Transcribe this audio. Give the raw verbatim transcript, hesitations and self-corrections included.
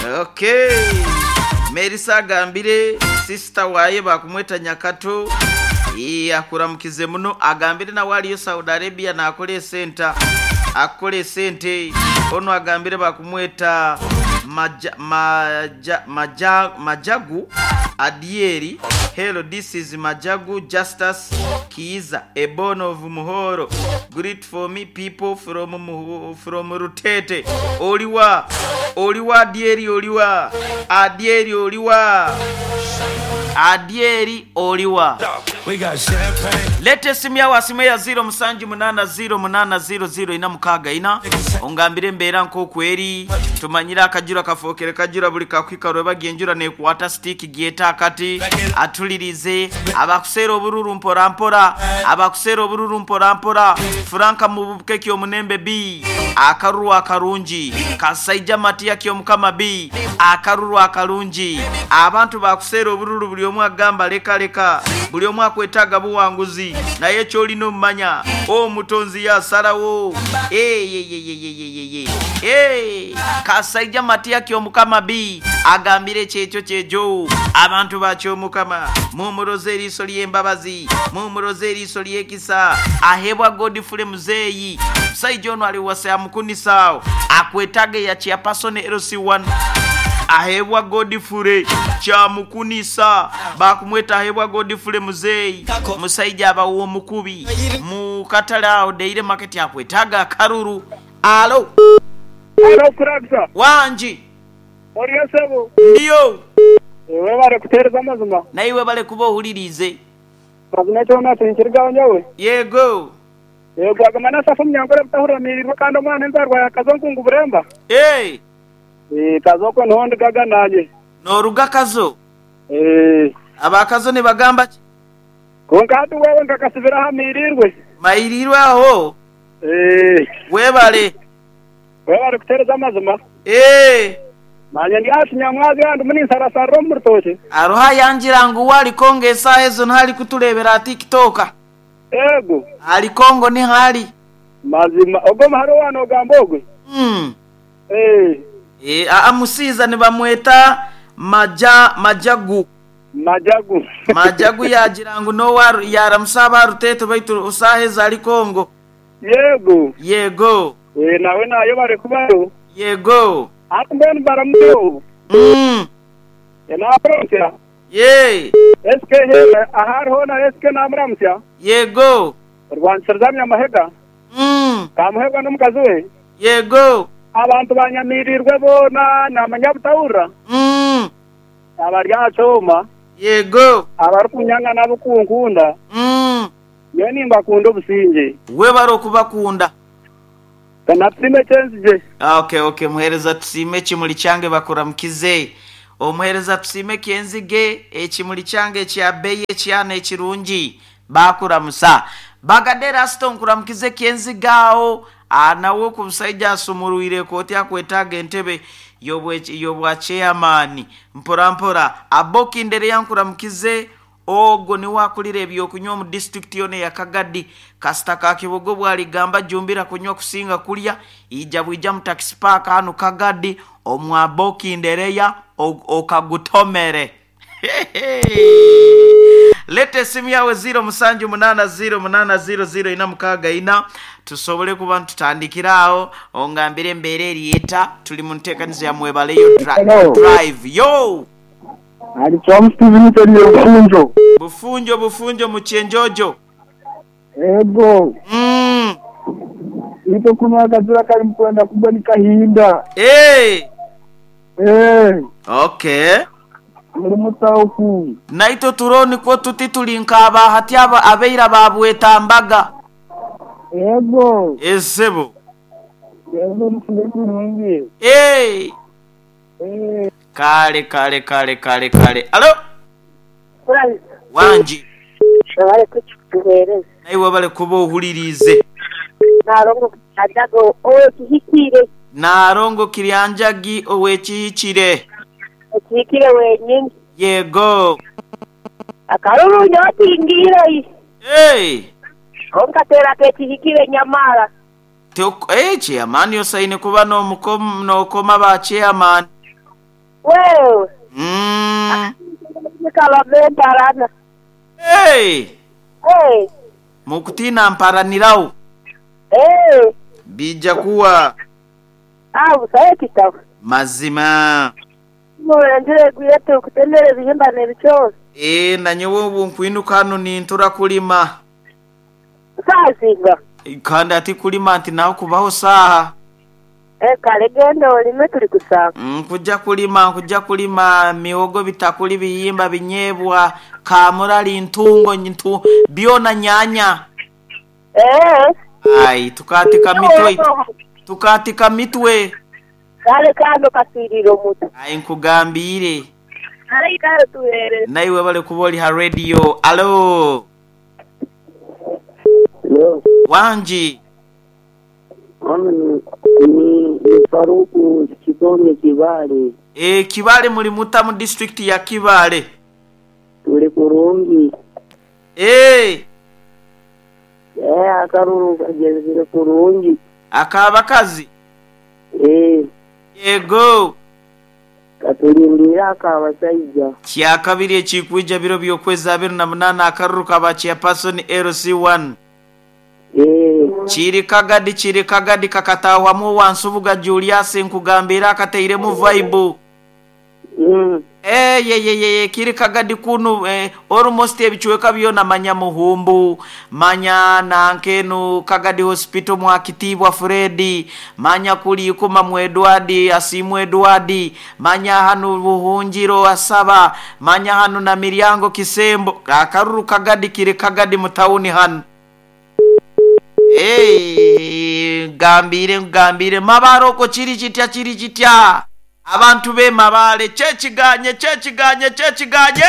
Okay, Merisa agambire sister waye bakumweta Nyakato. Ee, akuramukize muno, agambire nawe aliyo Saudi Arabia nakola esenta, akola esente. Ono agambire bakumweta Maja, Maja, Maja, Majagu Adieri. Hello, this is Majagu Justus Kiiza, a born of Muhoro. Greet for me people from Muho, from Rutete. Oliwa, oliwa Adieri, oliwa Adieri, oliwa Adieri, oliwa. We got champagne. Leta esimu yawe asimu ya ziro musanju munana ziro munana ziro ziro ina mukaaga ina, ongambire embeera nk'okweri. Tumanyire akajura kafookere kajura buli kakwika bagiye enjura nekwata stick gyeta akati atulirize abakuseera obururu mpora mpora, abakuseera obururu mpora mpora. Franka mubukeki omunembe B akaruru akarungi kasaija Matiya kyomukama B akaruru akarungi. Abantu bakuseera obururu buli omu agamba leka leka, buli omu akwetaaga buwanguzi, naye kyolina omumanya omutonzi yasalawo. Kasaija Matiya kyomukama B agambire kyekyo kyejo. Abantu bakyomukama mumuroze eriiso ly'embabazi, mumuroze eriiso ly'ekisa. Ahebwa Godfrey Muzeeyi, musaija ono ali wasa yamukunisaawo akwetaaga eya chairperson L C one. Ahebwa Godfrey kyamukunisa, bakumweta ahebwa Godfrey Muzeeyi, musaija abawo omukubi mu katale awo Daily Market akwetaaga akaruru. Alo. Alo Kurakisa. Wanji. Oriyo sebo. Ndiyo. Webale kuteereza amazima. Naiwe bale kuba ohulirize. Mazima ekyo nakinkirigaho nyowe. Yego. Yego, agamba nasafa omunyankore butahuramirirwe kandi omwana enzarwa yakazo nkungu buremba. Hey. Eh, kazo ko niho ndigaga nanye. Noruga kazo. Eh. Abakazo nibagamba ki? Konka hati wewe nkakasibira hamirirwe. Mairirwe aho. Eh. Webale. Webale kuteereza amazima. Eh. Manye ndi asi nyamwazi andu muni nsarasarra omu rutoki. Aroha yangira ngu wali Kongo esaaha ezo ntari kuturebera TikTok. Ego. Ali Kongo ni hali. Mazima ogo maharo wano ogamba ogwe. Mm. Eh. Eh, a musiza nibamweta Maja Majagu. Majagu. Majagu yagira ngu no war yaramusaba Rutete baitu usaheza ali Kongo. Yego. Yego. Eh, nawe nayo bari kubayo. Yego. Ati baramuyo. Mm. Ena proncia. Ye. S K he ahar ho na S K namramsya. Yego. Rwanshirzamya mahega. Mm. Kamuhega n'omukazi we. Yego. Abantu banyamirirwe bona namanyabutaura. Mm. Abari achoma. Yego. Abari kunyanga nabo kunkunda. Mm. Yo nimba kunda obusinge. We baro kubakunda. Kana tusime kyenzije. Okay, okay, muhereza tusime ekimuli kyange bakuramukize. Omuhereza tusime kyenzige ekimuli kyange ekya beyi ekyana ekirungi bakuramusa. Bagadera Aston kuramukize kyenzigaawo anawo ku musajja asumulwire kooti akwetaaga entebe y'obwa chairman mpora mpora. Aboki ndere yankuramukize ogo ni wakulira ebyokunywa mu district yone ya Kagadi. Kasita ka Kibogo bwaligamba jumbira kunywa kusinga kulya ija bwija mu taxi park hano Kagadi omwaboki ndereya okagutomere. Lete simu yawe ziro musanju munana ziro munana ziro ziro ina mukaaga ina tusobole kuba tutandikirawo ongambire embeera eriyeta tuli mu nteekanizo ya mwebaleyo drive yo. Ali Steven Bufunjo. Bufunjo bufunjo muchenjojo. Ego. Mm. Ito kuna kazura kali mkwenda kubwa ni kahinda. Eh. Eh. Okay. Muri mutauku. Naito turoni ko tuti tulinkaba hati aba abeira babwetambaga. Ego. Ezebo. Ego mfunge. Eh. Eh. Kale kale kale kale kale. Alo. Wanji. Wabale kutuhereza. Naiwe wabale kuba ohulirize. Narongo ajago owekihikire. Narongo kiryanjagi owekihikire. Ekihikire wenyini. Yego. Akaruru nyotingira. Hey. Onkatera kekihikire nyamara. Teo eh chairman yosaine kuba no mukom no koma ba chairman. Wewe. Mm. Kalabembarana. Hey! Eh. Mukutina mparanirawo. Eh. Bija kuwa Ah, busaye kitabo. mazima. Murangire gwete okutemera ebihimba n'ebicozi. Eh, nanyowe ubu nkwinuka hano nintura kulima. Sazinga. Kandi ati kulima nti naho kubaho saha. Eh, kale genda olime tuli kusanga. Nkuja kulima nkuja kulima mihogo bitakuli biyimba binyebwa kamurali ntungo ntu byona nyanya. Eh. Ai tukatika mitwe tukatika mitwe. Kale kando kasirira omutu. Ai nkugambire. Kale kale tuhere. Naiwe bale kuba oli ha radio. Alo. Leo Wanji. mimi ni, ni, ni Faruku Kitonge Kibale, E, Kibale muli muta mu district ya Kibale. tuli kurungi. E, Eh, akaruru kagezire kurungi. akabakazi. Eh, Yego. katulindira akabasajja. Kya kabiri ekikwija biro by'okwezi abiri na munaana akaruru kaba chairperson L C one. Eh, Kiri kagadi kiri kagadi kakatahwamu wansubuga Julius nkugambira akateiremu vibe. mm, Eh, ye ye ye ye kiri kagadi kunu eh, almost ebichweka byona manya Muhumbu, manya nankenu Kagadi Hospital mwakitibwa Fredi, manya kulikuma mu Edward asimu Edward, manya hanu Buhungiro asaba, manya hanu na Miryango Kisembo. Akaruru kagadi kiri kagadi mutauni hanu. Hey, gambire gambire mabaroko chiri chitya chiri chitya abantu be Mabale kyekiganye kyekiganye kyekiganye.